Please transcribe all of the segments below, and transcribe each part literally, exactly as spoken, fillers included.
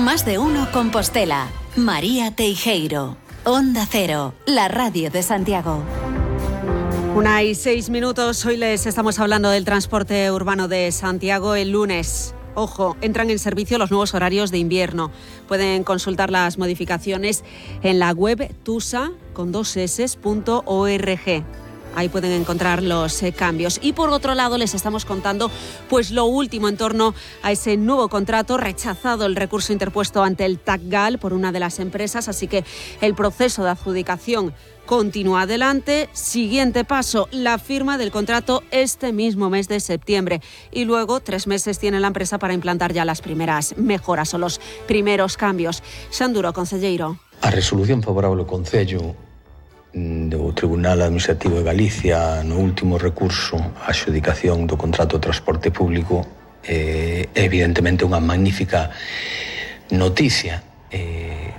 Más de uno Compostela. María Teijeiro. Onda Cero, la radio de Santiago. Una y seis minutos. Hoy les estamos hablando del transporte urbano de Santiago el lunes. Ojo, entran en servicio los nuevos horarios de invierno. Pueden consultar las modificaciones en la web tusa con dos eses punto org. Ahí pueden encontrar los eh, cambios. Y por otro lado les estamos contando pues lo último en torno a ese nuevo contrato. Rechazado el recurso interpuesto ante el TACGAL por una de las empresas, así que el proceso de adjudicación continúa adelante. Siguiente paso, la firma del contrato este mismo mes de septiembre. Y luego tres meses tiene la empresa para implantar ya las primeras mejoras o los primeros cambios. Xanduro, concelleiro. A resolución favorable ao Concello do Tribunal Administrativo de Galicia no último recurso á adxudicación do contrato de transporte público é eh, evidentemente unha magnífica noticia. Eh,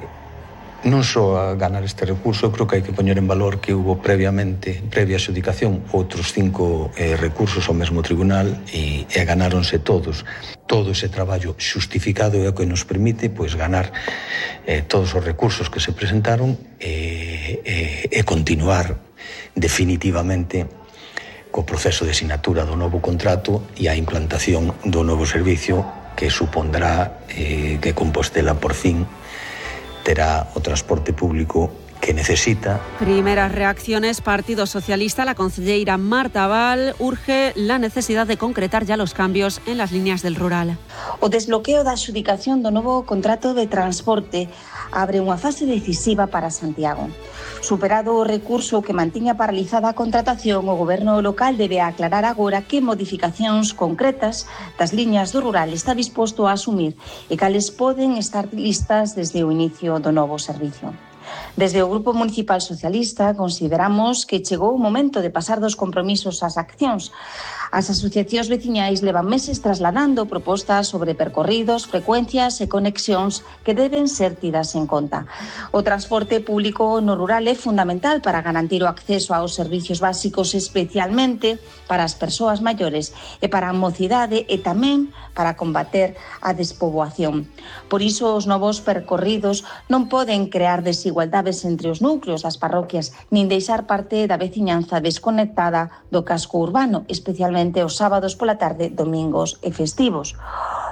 non só a ganar este recurso, eu creo que hai que poñer en valor que hubo previamente, previa adxudicación, outros cinco eh, recursos ao mesmo tribunal e, e ganáronse todos. Todo ese traballo xustificado é o que nos permite pois, ganar eh, todos os recursos que se presentaron e, e, e continuar definitivamente co proceso de sinatura do novo contrato e a implantación do novo servicio que supondrá eh, que Compostela por fin terá o transporte público que necesita. Primeras reacciones. Partido Socialista. La concelleira Marta Val urge la necesidad de concretar ya los cambios en las líneas del rural. O desbloqueo da adxudicación do novo contrato de transporte abre unha fase decisiva para Santiago. Superado o recurso que mantiña paralizada a contratación, o goberno local debe aclarar agora que modificacións concretas das liñas do rural está disposto a asumir e cales poden estar listas desde o inicio do novo servicio. Desde o Grupo Municipal Socialista consideramos que chegou o momento de pasar dos compromisos ás accións. As asociacións veciñais levan meses trasladando propostas sobre percorridos, frecuencias e conexións que deben ser tidas en conta. O transporte público no rural é fundamental para garantir o acceso aos servicios básicos, especialmente para as persoas maiores e para a mocidade e tamén para combater a despoboación. Por iso, os novos percorridos non poden crear desigualdades entre os núcleos das parroquias, nin deixar parte da veciñanza desconectada do casco urbano, especialmente os sábados pola tarde, domingos e festivos.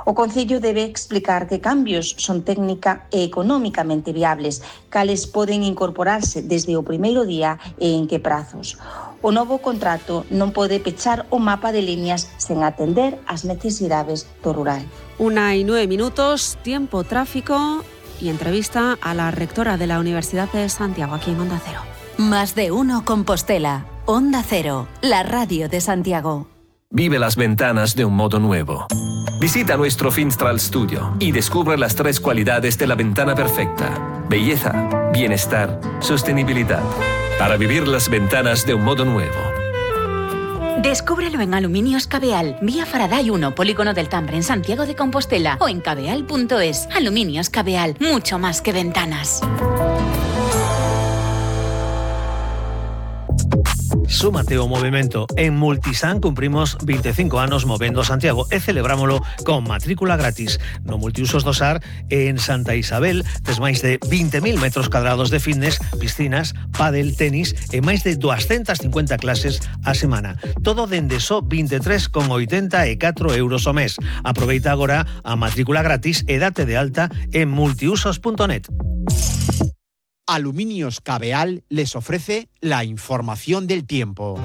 O Concello debe explicar que cambios son técnica e económicamente viables, cales poden incorporarse desde o primeiro día e en que prazos. O novo contrato non pode pechar o mapa de líneas sen atender as necesidades do rural. Una y nueve minutos, tiempo, tráfico y entrevista a la rectora de la Universidad de Santiago, aquí en Onda Cero. Más de uno Compostela. Onda Cero, la radio de Santiago. Vive las ventanas de un modo nuevo. Visita nuestro Finstral Studio y descubre las tres cualidades de la ventana perfecta: belleza, bienestar, sostenibilidad. Para vivir las ventanas de un modo nuevo. Descúbrelo en Aluminios Cabeal, vía Faraday uno, Polígono del Tambre, en Santiago de Compostela, o en cabeal punto es. Aluminios Cabeal, mucho más que ventanas. Súmate ao movimento. En Multisan cumprimos veinticinco anos movendo Santiago e celebrámolo con matrícula gratis. No Multiusos do Sar en Santa Isabel tes máis de vinte mil metros cadrados de fitness, piscinas, pádel, tenis e máis de doscientas cincuenta clases a semana. Todo dende só vinte e tres con oitenta e catro euros ao mes. Aproveita agora a matrícula gratis e date de alta en multiusos punto net. Aluminios Cabeal les ofrece la información del tiempo.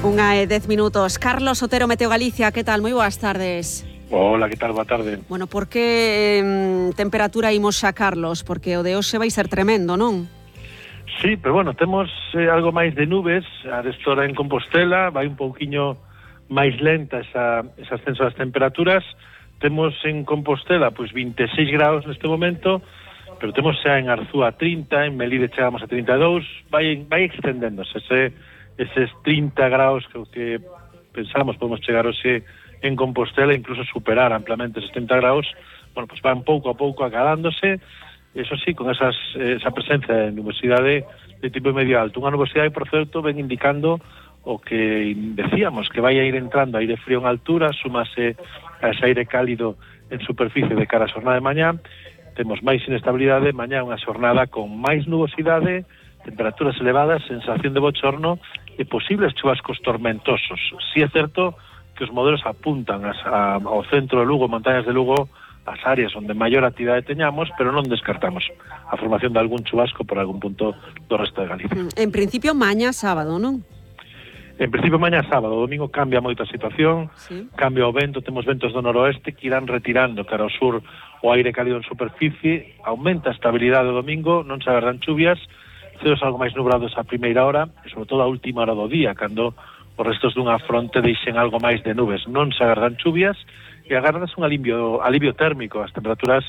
Unha e dez minutos. Carlos Otero, Meteo Galicia, que tal? Moi boas tardes. Hola, que tal? Boa tarde. Bueno, por que eh, temperatura imos xa, Carlos? Porque o de hoxe vai ser tremendo, non? Sí, pero bueno, temos eh, algo máis de nubes. A restora en Compostela vai un pouquiño máis lenta esa, ese ascenso das temperaturas. Temos en Compostela pois vinte e seis graus neste momento, pero temos xa en Arzúa trinta, en Melide chegamos a trinta e dous, vai, vai extendéndose ese, eses trinta graus que, que pensamos podemos chegar hoxe en Compostela, incluso superar amplamente esos trinta graus. Bueno, pues van pouco a pouco acadándose, eso sí, con esas, esa presencia de nubosidade de tipo medio alto. Unha nubosidade, por certo, ven indicando o que decíamos, que vai a ir entrando aire frío en altura, súmase a ese aire cálido en superficie de cara a xornada de mañá. Temos máis inestabilidade, mañá unha xornada con máis nubosidade, temperaturas elevadas, sensación de bochorno e posibles chubascos tormentosos. Si é certo que os modelos apuntan as, a, ao centro de Lugo, montañas de Lugo, as áreas onde maior actividade teñamos, pero non descartamos a formación de algún chubasco por algún punto do resto de Galicia. En principio, mañá sábado, non? En principio, mañá sábado, o domingo cambia moito a situación, sí. Cambia o vento, temos ventos do noroeste que irán retirando cara ao sur o aire cálido en superficie, aumenta a estabilidade o domingo, non se agardan chuvias, ceos algo máis nublados a primeira hora, e sobre todo a última hora do día, cando os restos dunha fronte deixen algo máis de nubes. Non se agardan chuvias, e agardas un alivio, alivio térmico, as temperaturas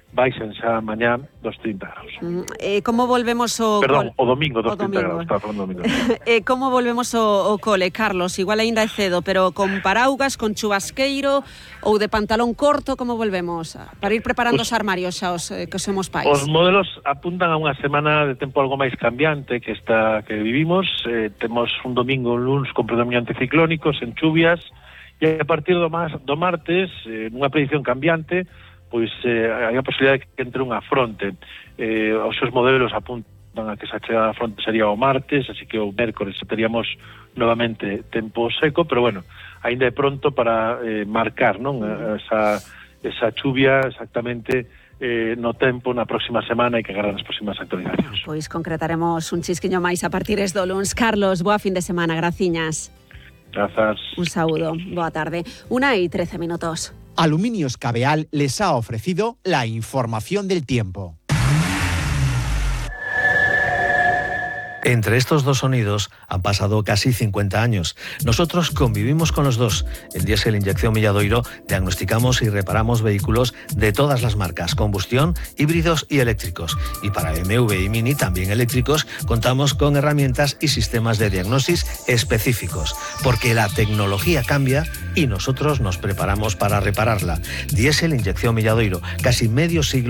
baixan xa mañá dos trinta graus. Mm, eh, como volvemos o... Perdón, o domingo dos o trinta domingo. graus, estaba falando domingo. eh, como volvemos o, o cole, Carlos? Igual aínda é cedo, pero con paraugas, con chubasqueiro ou de pantalón corto, como volvemos? Para ir preparando os, os armarios xa os eh, que somos pais. Os modelos apuntan a unha semana de tempo algo máis cambiante que esta que vivimos. Eh, temos un domingo, un luns con predominio anticiclónico, sen chuvias, e a partir do, mas, do martes, eh, nunha predicción cambiante, pois eh, hai a posibilidade de que entre unha fronte. Eh, os seus modelos apuntan a que esa chegada da fronte sería o martes, así que o mércores teríamos novamente tempo seco, pero bueno, ainda é pronto para eh, marcar, non, esa, esa chuvia exactamente eh, no tempo na próxima semana e que agarran as próximas actualizacións. Pois concretaremos un chisquiño máis a partir do luns. Carlos, boa fin de semana, graciñas. Grazas. Un saúdo, boa tarde. Una y trece minutos. Aluminios Cabeal les ha ofrecido la información del tiempo. Entre estos dos sonidos han pasado casi cincuenta años. Nosotros convivimos con los dos. En Diesel Inyección Milladoiro diagnosticamos y reparamos vehículos de todas las marcas, combustión, híbridos y eléctricos. Y para B M W y Mini, también eléctricos, contamos con herramientas y sistemas de diagnosis específicos. Porque la tecnología cambia y nosotros nos preparamos para repararla. Diesel Inyección Milladoiro, casi medio siglo